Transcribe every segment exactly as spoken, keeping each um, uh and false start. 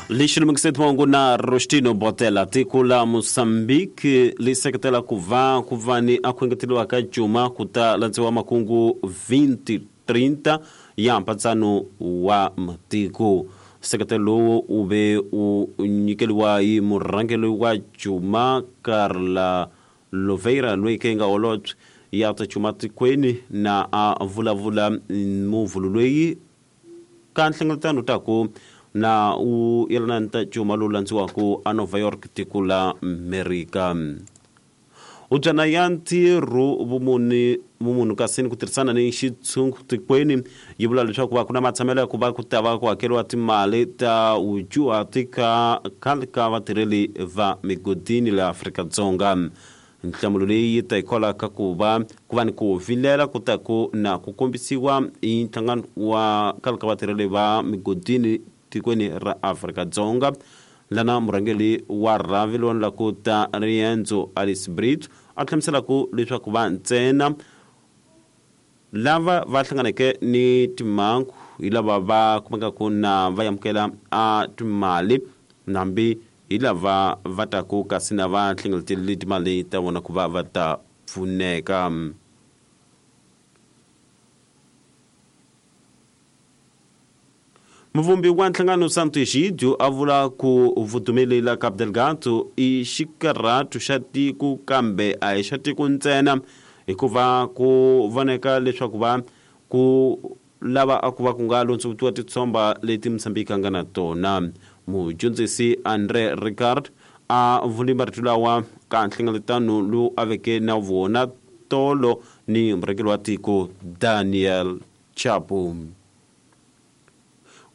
Lexi lumekiseti mahungu na Rostino Botela. Tiko la Mozambique li seketela ku va ku va ni a ku engeteriwa ka cuma ku ta landziwa makungu twenty thirty ya mpatsano wa matiko. Seketelo lowu wu ve wu nyikeriwa hi murhangeri wa cuma Carla Loveira loyi ke nga holobye ya ta cuma tikweni na a vulavula muvulu loyi ka nhlengeletano ta ku na u yelana ni ta cuma lowu landziwaka a Nova York tiko la Amerika. Ubyana ya ntirho vumuni vumunhu kasi ni ku tirhisana ni xitshungu tikweni yi vula leswaku va ku na matshamelo ya ku va ku ta va ku hakeriwa timali ta vudyuhati ka khale ka vatirheli va migodini la Afrika-Dzonga. Nhlamulo leyi yi ta hikwalaho ka ku va ku va ni ku vilela ku ta ku na ku kombisiwa hi nhlangano wa khale ka vatirheli va migodini tikweni ra Afrika-Dzonga. Lana murhangeri wa rhavi lowu la ku ta riendzo Alice Brito a hlamusela ku leswaku va ntsena lava va hlanganeke ni timhangu hi lava va kumekaka na va amukela a timali nambi hi lava va taku kasi na va hlengeletile timali ta vona ku va va ta pfuneka. Muvumbi wa nhlangano Santo Egidio a vula ku vudumeli la Cabo Delgado i xikarhatu xa tiko kambe a hi xa tiko ntsena hikuva ku voneka leswaku va ku lava a ku va ku nga londzovutiwa titshomba leti Mozambique a nga na tona. Mudyondzisi Andre Ricard a vuli marito lawa ka nhlengeletano lowu a veke na vona tolo ni murhangeri wa tiko Daniel Chapo.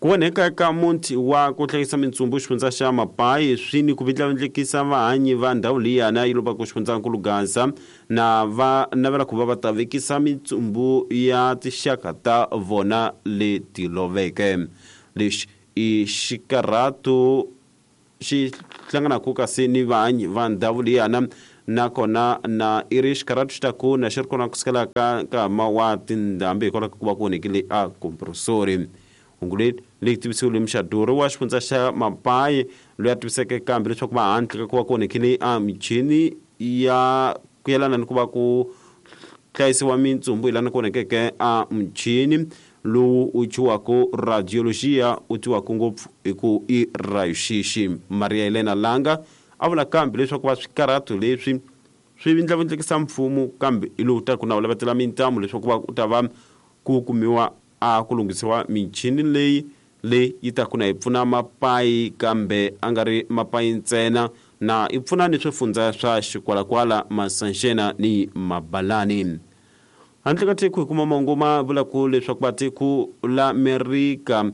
Ku onheka ka muti wa ku hlayisa mintsumbu xifundza xa Mapai swi ni ku vindlavindlekisa vahanyi va ndhawu liyana yi lobaka xifundzankulu Gaza na va navela ku va va ta vekisa mintsumbu ya tinxaka ta vona leti loveke. Lexi i xikarhatu xi hlanganaka kasi ni vahanyi va ndhawu liyana nakona na i ri xikarhatu xi ta ku na xi ri kona kusukela ka nkama wa tindhambi hikwalaho ka ku va ku onhekile a kompresori. Hungu leri leyi tivisiwile muxaduri wa xifundza xa Mapai loyi a tiviseke kambe leswaku va handle ka ku va ku onhekile a michini ya ku yelana ni ku va ku hlayisiwa mintsumbu hi lana ku onhekeke a muchini lowu wu thyiwaka radiologia wu tiwaka ngopfu hi ku i rayuxixi. Maria Helena Langa a vula kambe leswaku va swikarhatu leswi swi vindlavindlekisa mfumo kambe hi lowu taku na wu lavetela mintamu leswaku va ku ta va ku kumiwa a ku lunghisiwa michini leyi leyi yi ta ku na yi pfuna Mapai kambe a nga ri Mapai ntsena na yi pfuna ni swifundza swa Xikwalakwala, Masanjena ni Mabalani. Handle ka tiko hi kuma mahungu ma vula ku leswaku va tiko la Amerika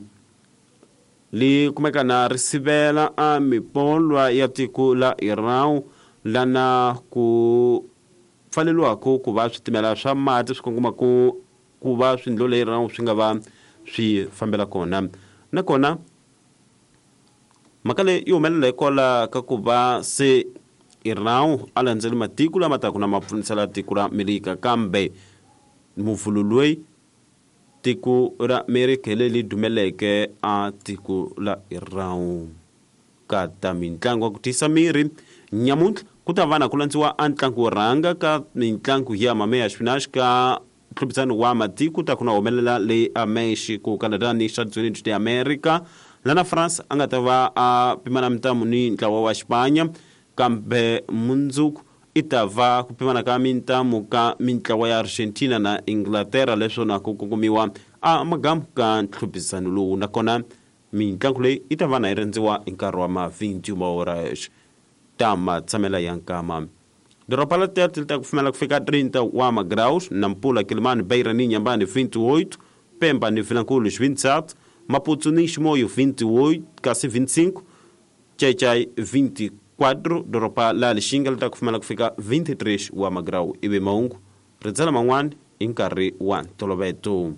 li kumeka na ri sivela a mipolwa ya tiko la Iran lana ku pfaleriwaka ku va switimela swa mati swi kongoma ku ku va swindlo leyi Iran swi nga va swi fambela kona. Nakona mhaka leyi yi humelela hikwalaho ka ku va se Iran a landzeli matiko lama taka na ma pfunisela tiko ra Amerika kambe muvulu loyi tiko ra Amerika hi leri dumeleke a tiko la Iran. Ka ta mitlangu ya ku tiyisa miri nyamuntlha ku ta va na ku landziwa a ntlangu wo rhanga ka mitlangu ya mameya xipinachi ka ntlhuphisano wa matiko ta ku na humelela le a Mexico, Canada ni Estados Unidos de America. Lana France a nga ta va a pimana mintamu ni ntlawa wa Xipanya kambe mundzuku i ta va ku pimana ka mintamu ka mintlawa ya Argentina na Inglaterra leswo na ku kongomiwa a magamu ka ntlhuphisano lowu. Nakona mitlangu leyi yi ta va na yi rendziwa hi nkarhi wa ma twenty horas ta matshamela ya nkama. Doroba la Tete li ta kufumela kufika trinta wa magraus, Nampula, Quelimane, Beira ni Inhambane vinte e oito, Pemba ni Vilankulo vinte e sete, Maputo ni Chimoio vinte e oito, kasi vinte e cinco, Xai-Xai vinte e quatro, doroba la Lixinga li ta kufumela kufika vinte e três wa magrau. Ivi mahungu rindzela man'wani hi nkarhi wa ntoloveto.